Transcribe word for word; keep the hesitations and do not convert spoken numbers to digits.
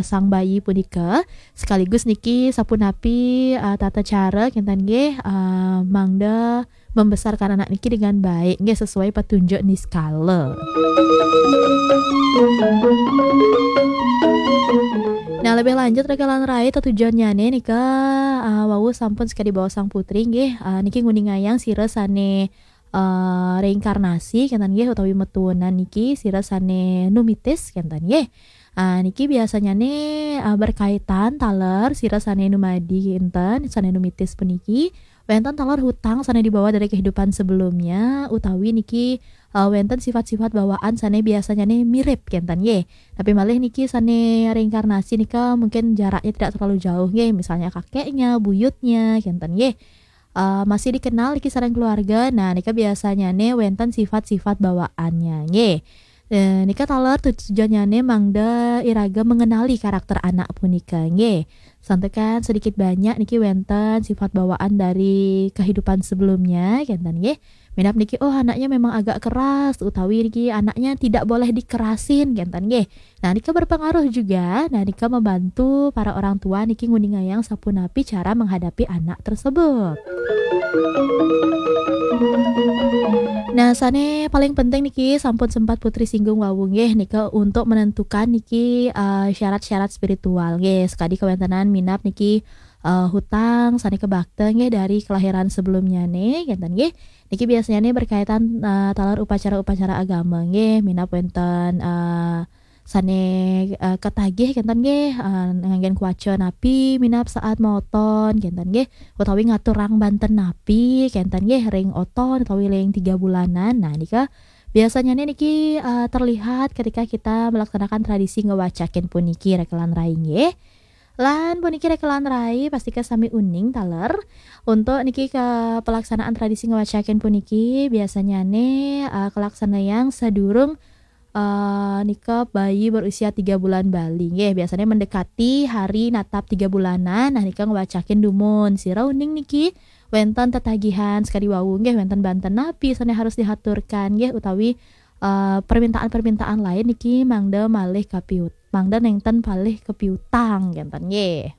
sang bayi punika, sekaligus niki sapunapi uh, tata cara kinten nggih uh, mangda membesarkan anak niki dengan baik nggih sesuai petunjuk niskala. Nah, lebih lanjut rekan rai, tetujonnyane nika uh, wau sampun sekadi bawa sang putri nggih uh, niki nguningayang sira sane uh, reinkarnasi kinten nggih utawi metuunan niki sira sane numitis kinten nggih. Uh, niki biasanya ne uh, berkaitan taler sira sane numadi kinten sane numitis puniki wenten taler hutang sane dibawa dari kehidupan sebelumnya utawi niki uh, wenten sifat-sifat bawaan sane biasanya ne mirip kinten nggih. Tapi malih niki sane reinkarnasi nika mungkin jaraknya tidak terlalu jauh nggih, misalnya kakeknya, buyutnya kinten nggih. Uh, masih dikenal niki sareng keluarga. Nah, nika biasanya ne wenten sifat-sifat bawaannya nggih. Eh, nika taler tujuannya ne mangda iraga mengenali karakter anak punika nggih. Santekan sedikit banyak niki wenten sifat bawaan dari kehidupan sebelumnya kinten nggih. Minap niki oh anaknya memang agak keras utawi niki anaknya tidak boleh dikerasin kinten nggih. Nah, nika berpengaruh juga. Nah, nika membantu para orang tua niki nguningayang sapunapi cara menghadapi anak tersebut. Nah, sane paling penting niki sampun sempat putri singgung wau nggih nika untuk menentukan niki uh, syarat-syarat spiritual nggih sekadi kewentenan minap niki uh, hutang sane kebakta nggih dari kelahiran sebelumnya ne kinten nggih. Niki biasanya ne berkaitan uh, taler upacara-upacara agama nggih minap wenten uh, sane uh, ketagih kinten nggih uh, nganggen kuaca napi minap saat maoton kinten nggih utawi ngaturang banten napi kinten nggih ring oton utawi ring tiga bulanan. Nah, nika biasanya ne niki uh, terlihat ketika kita melaksanakan tradisi ngewacakin puniki rekelan rai nggih. Lan puniki rekelan rai pastika sami uning taler. Untuk niki ke pelaksanaan tradisi ngewacakin puniki biasanya ne uh, kelaksanayang sadurung uh, nika bayi berusia tiga bulan bali nggih. Biasanya mendekati hari natap tiga bulanan. Nah, nika ngewacakin dumun. Sira uning niki wenten tetagihan sekadi wau nggih wenten banten napi sane harus dihaturkan nggih utawi uh, permintaan-permintaan lain niki mangda malih kapiut mangda nenten palih kepiutang kinten nggih.